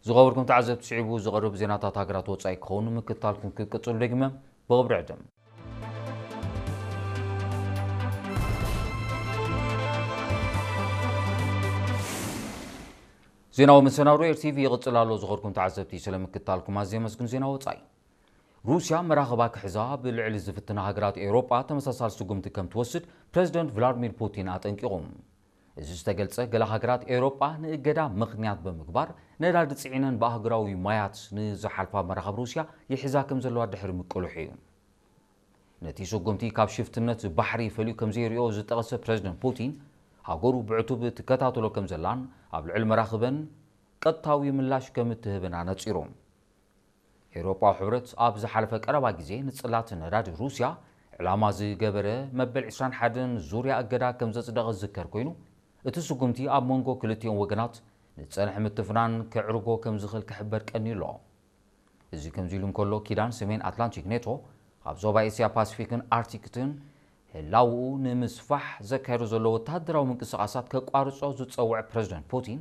ዝኸበርኩም ተዓዘብቲ፣ ስዒቡ ዝቐርብ ዜናታት ሃገራት ወጻኢ ክኸውን ምክትታልኩም ክቅጽሉ ደግመ ብኽብሪ ዕድም። ዜናዊ መሰናዶ ኤር ቲቪ ይቕጽል ኣሎ። ዝኸበርኩም ተዓዘብቲ፣ ስለ ምክትታልኩም ኣዝየ ኣመስግን። ዜና ወጻኢ። ሩስያ መራኽባ ክሕዛ ብልዕሊ ዝፍትና ሃገራት ኤውሮጳ ተመሳሳሊ ስጉምቲ ከም ትወስድ ፕረዚደንት ቭላድሚር ፑቲን ኣጠንቂቑ። እዚ ዝተገልጸ፣ ገለ ሃገራት ኤውሮጳ ንእገዳ ምኽንያት ብምግባር ነዳዲ ጽዒነን ብኣህጉራዊ ማያት ንዝሓልፋ መራኽብ ሩስያ ይሕዛ ከም ዘለዋ ድሕሪ ምቅልሑ እዩ። ነቲ ስጉምቲ ካብ ሽፍትነት ባሕሪ ፈልዩ ከም ዘይሪኦ ዝጠቐሰ ፕረዚደንት ፑቲን፣ ሃገሩ ብዕቱብ ትከታተሎ ከም ዘላን ኣብ ልዕሊ መራኽበን ቀጥታዊ ምላሽ ከም እትህብን ኣነጺሩ። ኤውሮጳዊ ሕብረት ኣብ ዝሓለፈ ቀረባ ግዜ ንጽላት ነዳዲ ሩስያ ዕላማ ዝገበረ መበል ዕስራን ሓደን ዙርያ እገዳ ከም ዘጽደቐ ዝዝከር ኮይኑ፣ እቲ ስጉምቲ ኣብ መንጎ ክልቲኦም ወገናት ንጸንሐ ምትፍናን ከዕርጎ ከም ዝኽእል ክሕበር ቀንዩ ኣሎ። እዚ ከምዚ ኢሉ እንከሎ፣ ኪዳን ሰሜን ኣትላንቲክ ኔቶ ኣብ ዞባ ኤስያ ፓሲፊክን ኣርክቲክን ህላውኡ ንምስፋሕ ዘካየዶ ዘሎ ወታደራዊ ምንቅስቓሳት ከቋርጾ ዝጸውዐ ፕረዚደንት ፑቲን፣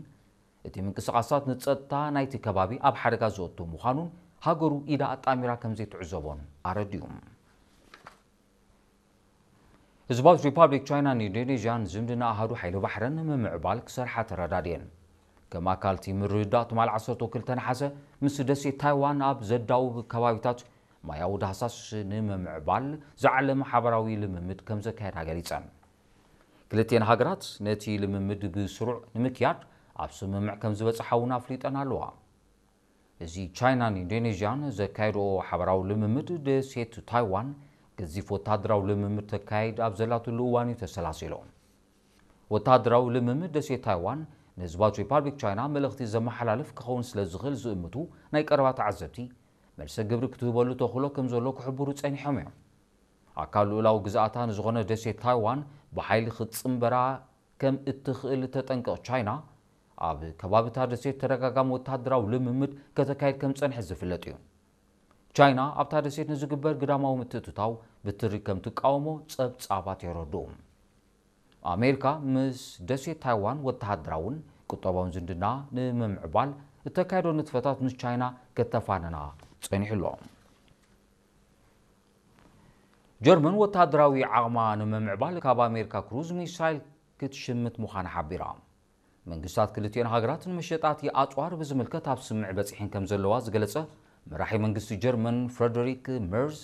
እቲ ምንቅስቓሳት ንጸጥታ ናይቲ ከባቢ ኣብ ሓደጋ ዘእቱ ምዃኑን ሃገሩ ኢዳ ኣጣሚራ ከም ዘይትዕዘቦን ኣረዲኡ። ህዝባዊት ሪፓብሊክ ቻይናን ኢንዶኔዥያን ዝምድና ኣሃዱ ሓይሊ ባሕረን ንምምዕባል ክሰርሓ ተረዳድየን። ከም ኣካል እቲ ምርድዳእ፣ ትማል ዓሰርተ ክልተ ነሓሰ ምስ ደሴት ታይዋን ኣብ ዘዳውብ ከባቢታት ማያዊ ዳህሳስ ንምምዕባል ዝዓለመ ሓበራዊ ልምምድ ከም ዘካየዳ ገሊጸን። ክልቲኤን ሃገራት ነቲ ልምምድ ብስሩዕ ንምክያድ ኣብ ስምምዕ ከም ዝበጽሓ እውን ኣፍሊጠን ኣለዋ። እዚ ቻይናን ኢንዶኔዥያን ዘካየድኦ ሓበራዊ ልምምድ፣ ደሴት ታይዋን ገዚፍ ወታደራዊ ልምምድ ተካይድ ኣብ ዘላትሉ እዋን እዩ ተሰላሲሉ። ወታደራዊ ልምምድ ደሴት ታይዋን ንህዝባዊት ሪፓብሊክ ቻይና መልእኽቲ ዘመሓላልፍ ክኸውን ስለ ዝኽእል ዝእምቱ ናይ ቀረባ ተዓዘብቲ፣ መልሰ ግብሪ ክትህበሉ ተኽእሎ ከም ዘሎ ክሕብሩ ጸኒሖም እዮም። ኣካል ልኡላዊ ግዝኣታ ንዝኾነ ደሴት ታይዋን ብሓይሊ ክትጽንበራ ከም እትኽእል እተጠንቅቕ ቻይና፣ ኣብ ከባቢታ ደሴት ተደጋጋሚ ወታደራዊ ልምምድ ከተካይድ ከም ጸንሐ ዝፍለጥ እዩ። ቻይና ኣብታ ደሴት ንዝግበር ግዳማዊ ምትእትታው ብትሪ ከም ትቃወሞ ጸብጻባት የረድኡ። ኣሜሪካ ምስ ደሴት ታይዋን ወተሃደራውን ቁጠባውን ዝምድና ንምምዕባል እተካየዶ ንጥፈታት ምስ ቻይና ከተፋነና ጸኒሑ ኣሎ። ጀርመን ወተሃደራዊ ዓቕማ ንምምዕባል ካብ ኣሜሪካ ክሩዝ ሚሳይል ክትሽምት ምዃና ሓቢራ። መንግስታት ክልቲኦን ሃገራት ንመሸጣቲ ኣጽዋር ብዝምልከት ኣብ ስምምዕ በጺሐን ከም ዘለዋ ዝገለጸ መራሒ መንግስቲ ጀርመን ፍረደሪክ መርዝ፣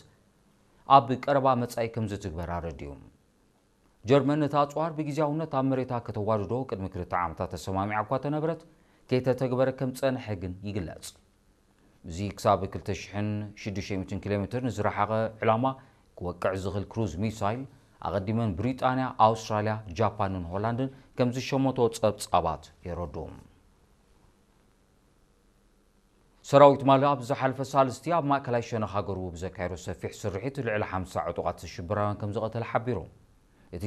ኣብ ቀረባ መጻኢ ከም ዝትግበር ኣረዲኡ። ጀርመን ነቲ ኣጽዋር ብግዜያውነት ኣብ መሬታ ከተዋርዶ ቅድሚ ክልተ ዓመታት ተሰማሚዓ እኳ ተነበረት፣ ከይተተግበረ ከም ጸንሐ ግን ይግለጽ። እዚ ክሳብ ክልተ ሽሕን ሽዱሽተ ሚእትን ኪሎ ሜትር ንዝረሓቐ ዕላማ ክወቅዕ ዝኽእል ክሩዝ ሚሳይል፣ ኣቐዲመን ብሪጣንያ፣ ኣውስትራልያ፣ ጃፓንን ሆላንድን ከም ዝሸመቶ ጸብጻባት የረድኡ። ሰራዊት ማሊ ኣብ ዝሓለፈ ሳልስቲ ኣብ ማእከላይ ሸነኽ ሃገሩ ብዘካየዶ ሰፊሕ ስርሒት ልዕሊ ሓምሳ ዕጡቓት ሽበራውያን ከም ዝቐተለ ሓቢሩ። እቲ